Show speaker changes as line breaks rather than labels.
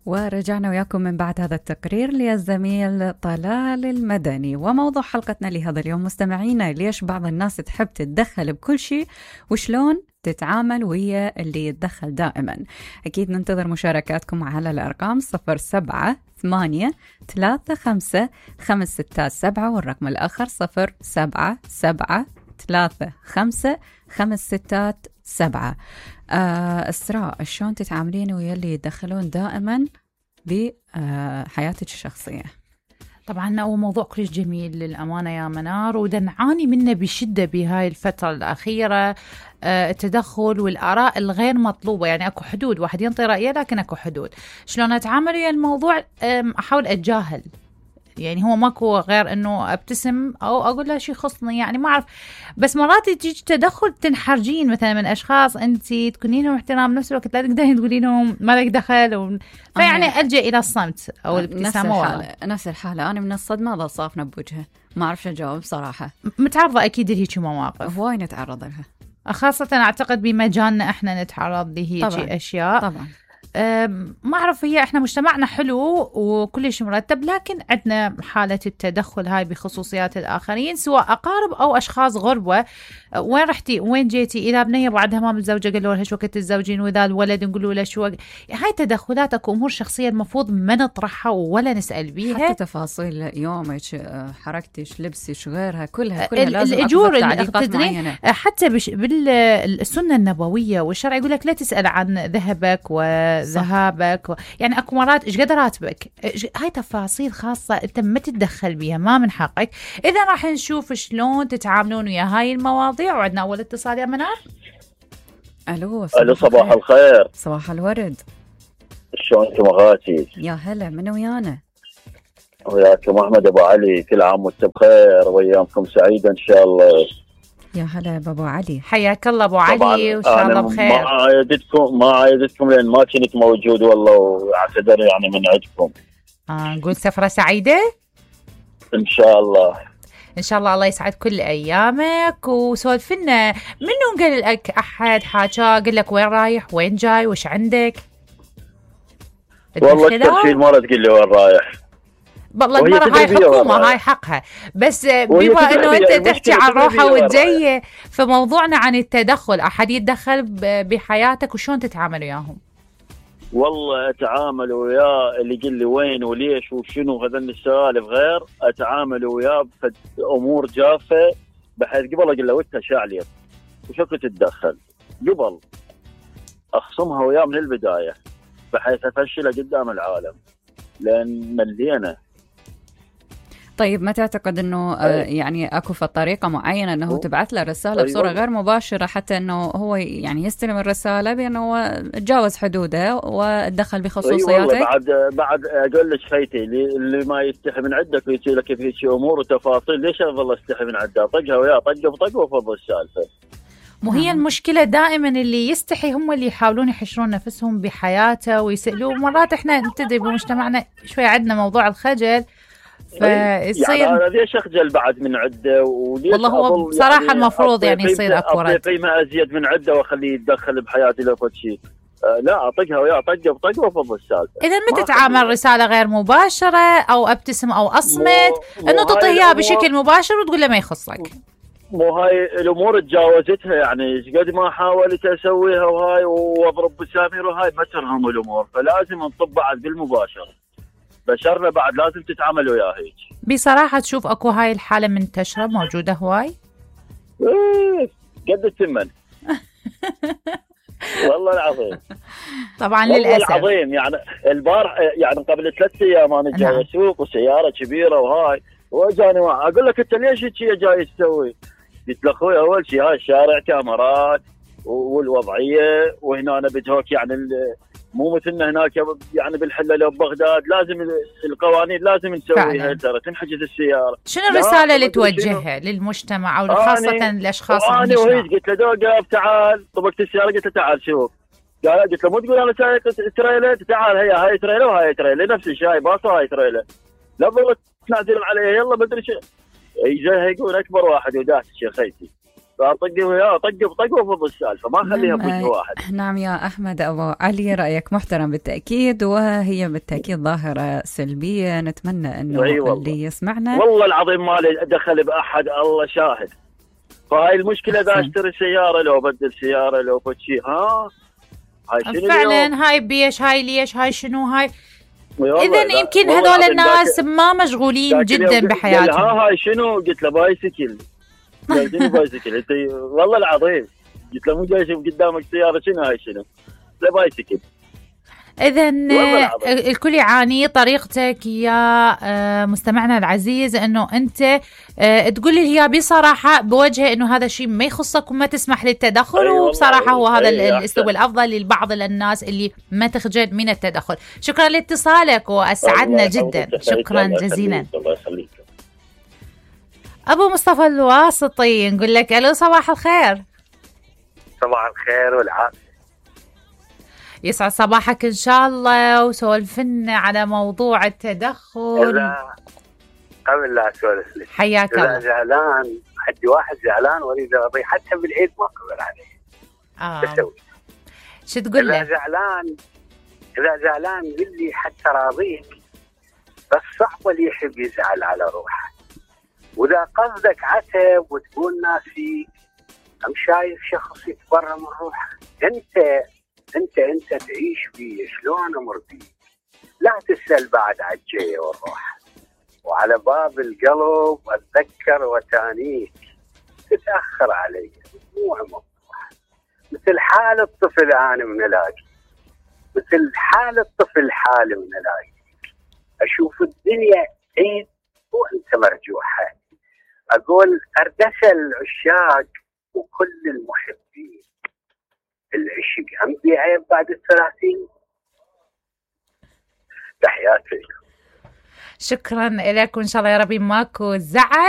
ورجعنا وياكم من بعد هذا التقرير للزميل طلال المدني. وموضوع حلقتنا لهذا اليوم مستمعينا، ليش بعض الناس تحب تتدخل بكل شيء وشلون تتعامل ويا اللي يتدخل دائما. أكيد ننتظر مشاركاتكم على الأرقام 0783555667 والرقم الآخر 0773555667. إسراء، شلون تتعاملين ويا اللي يتدخلون دائما بحياتك الشخصية؟
طبعا هو موضوع كلش جميل للأمانة يا منار، وده نعاني منه بشدة بهاي الفترة الأخيرة. التدخل والآراء الغير مطلوبة، يعني أكو حدود، واحد ينطي رأيه لكن أكو حدود. شلون أتعامل ويا الموضوع؟ أحاول أتجاهل، يعني هو ماكو غير انه ابتسم او اقول له شيء خصني، يعني ما اعرف. بس مرات يجيك تدخل تنحرجين مثلا من اشخاص انت تكونينهم احترام، بنفس الوقت لا تقدرين تقولينهم ما لك دخل فيعني الجا الى الصمت او الابتسامه.
نفس الحاله انا من الصدمه ظل صافنه بوجهه، ما اعرف شو اجاوب صراحه.
متعرضه اكيد لهيك مواقف،
هواي نتعرض لها،
خاصه اعتقد بمجالنا احنا نتعرض لهيك اشياء
طبعا.
ما أعرف، هي إحنا مجتمعنا حلو وكلش مرتب، لكن عندنا حالة التدخل هاي بخصوصيات الآخرين، سواء أقارب أو أشخاص غربة. وين رحتي؟ وين جيتي؟ إذا بنية بعدها ما متزوجة قالوا لها شو وقت تتزوجين، وإذا الولد نقولوا له شو. هاي تدخلات أكو أمور شخصية المفروض ما نطرحها ولا نسأل بيها.
حتى تفاصيل يومك، حركتك، لبسك، غيرها كلها لازم
الأجور،
تعليقات معينة.
حتى بالسنة النبوية والشرع يقول لك لا تسأل عن ذهبك وذهابك يعني أكو مرات إيش قد راتبك. هاي تفاصيل خاصة أنت ما تتدخل بيها، ما من حقك. إذا راح نشوف شلون تتعاملون ويا هاي المواضيع. وعندنا أول اتصال يا منار.
ألو،
صباح الخير.
صباح الورد.
شلونكم اخواتي؟
يا هلا، من ويانا؟
وياكم احمد ابو علي، كل عام وانتم بخير وايامكم سعيده ان شاء الله.
يا هلا بابو علي،
حياك الله ابو علي، وان شاء الله بخير.
ما عايدتكم لان ما كنت موجود والله، واعتذر يعني من عندكم.
نقول سفره سعيده
ان شاء الله.
ان شاء الله، الله يسعد كل ايامك. وسولف لنا، منو قال لك احد حاجه قال لك وين رايح وين جاي وش عندك؟
والله الترشيد ما تقول لي وين رايح.
والله المرة هاي حكومة، هاي حقها. بس بما انه انت تحكي عن روحه والجاية، فموضوعنا عن التدخل. احد يتدخل بحياتك وشون تتعامل وياهم؟
والله اتعامل وياه اللي يقول لي وين وليش وشنو هذول السوالف، غير اتعامل وياه بامور جافه، بحيث قبل اقول له انت شعليط وشكله تتدخل، قبل اخصمها وياه من البدايه بحيث افشله قدام العالم، لان مليانه.
طيب ما تعتقد انه يعني اكو في طريقه معينه انه تبعث له رساله بصوره غير مباشره، حتى انه هو يعني يستلم الرساله بانه هو تجاوز حدوده ودخل بخصوصياته؟
بعد اقول لك خيتي، اللي ما يستحي من عندك ويصير لك في شيء امور وتفاصيل، ليش اظل استحي من عنده؟ طقها وياه طقه بطقه وفضل السالفه.
مو هي المشكلة دائما اللي يستحي هم اللي يحاولون يحشرون نفسهم بحياته ويسألوه. مرات احنا نبتدي بمجتمعنا شوي عندنا موضوع الخجل، فيصير
يعني أنا ليش أخجل بعد من عدة؟
والله هو بصراحة يعني المفروض يعني يصير أكو رد.
أعطي قيمة أزيد من عدة وأخليه يتدخل بحياتي لو فد شيء. لا أطقها وياه طقة بطقة وفضل السالفة.
إذا ما تتعامل رسالة غير مباشرة أو أبتسم أو أصمت، إنه تعطيه إياه بشكل مباشر وتقول له ما يخصك.
مو هاي الأمور تجاوزتها، يعني قد ما حاولت أسويها وهاي وأضرب بسامير وهاي ما ترهم الأمور، فلازم نطب بعد بالمباشرة. بشرنا بعد لازم تتعامل وياه هيك.
بصراحة تشوف أكو هاي الحالة منتشرة موجودة هواي؟
قد الثمن. والله العظيم.
طبعا للأسف.
والله العظيم، يعني البارح يعني قبل 3 أيام أنا جاي أسوق وسيارة كبيرة وهاي، وجاني أقول لك أنت ليش هيك جاي تسوي؟ قلت له أخوي أول شيء هاي الشارع كاميرات والوضعية، وهنا أنا بدهوك يعني مو مثلنا هناك يعني بالحلة لو ببغداد، لازم القوانين لازم نسويها ترى تنحجز السيارة.
شنو الرسالة اللي توجهها للمجتمع أو خاصة الأشخاص؟
أنا وهيج قلت له دوقف تعال، طبقت السيارة قلت له تعال شوف، قلت له مو تقول أنا سايق تريلا، تعال هاي تريلا وهاي تريلا نفس الشيء، باص وهاي تريلا، لا والله تنازل عليه يلا بدري شو. يجي يقول أكبر واحد وداعت يا خيتي، اطق وياه طق وفض السالفه، ما اخليها بوجه واحد.
نعم يا احمد ابو علي، رايك محترم بالتاكيد، وهي بالتاكيد ظاهره سلبيه، نتمنى انه اللي يسمعنا
والله العظيم ما لي دخل باحد، الله شاهد. فهاي المشكله اذا اشتري سياره لو بدل سياره لو بشي هاي شنو
فعلا، هاي بيش، هاي ليش، هاي شنو، هاي اذا يمكن هذول الناس ما مشغولين جدا بحياتهم.
هاي شنو؟ قلت له بايسكل. شنو بايسكل انت؟ والله العظيم قلت له مو جاي اشوف قدامك سياره، شنو هاي شنو؟ لا بايسكل.
إذا الكل يعاني. طريقتك يا مستمعنا العزيز أنه أنت تقول لي هي بصراحة بوجه أنه هذا الشيء ما يخصك وما تسمح للتدخل، وبصراحة هو هذا الأسلوب الأفضل لبعض الناس اللي ما تخجل من التدخل. شكرا لاتصالك وأسعدنا جدا، شكرا جزيلا. أبو مصطفى الواسطي نقول لك ألو، صباح الخير.
صباح الخير والعافية،
يسعد صباحك إن شاء الله، وسولفنا على موضوع التدخل.
قبل لا أسولف لك،
حياك الله.
زعلان، عندي واحد زعلان وأريد أرضيه، حتى بالعيد ما قبل عليه. تسوي
شو تقول له؟
إذا زعلان قل لي حتى راضيك، بس صعب اللي يحب يزعل على روحه. وإذا قصدك عتب وتقول ناسي، أم شايف شخص يتبرى من روحه، انت تعيش فيه، شلون امر فيه، لا تسأل بعد على الجاية والروح، وعلى باب القلب اتذكر وتانيك، تتأخر علي مو مفتوح، مثل حال الطفل انا منلاقي، مثل حال الطفل حالي منلاقي، اشوف الدنيا عيد وانت مرجوحة، اقول اردس العشاق وكل المحبين، العشق هم في عيب بعد 30. تحياتي.
شكرا لك، وان شاء الله يا ربي ماكو زعل.